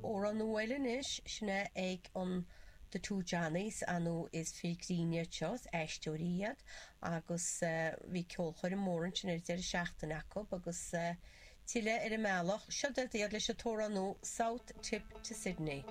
Amhrán nua eile anois, sin é ag an The Two Johnnies, ar ndóigh is fir grinn iad seo, is aisteoirí iad agus bhí ceolchoirm mór ansin ar an deireadh seachtaine acu agus tuilleadh ar an mbealach. Seo iad leis an t-amhrán nua South Tip to Sydney.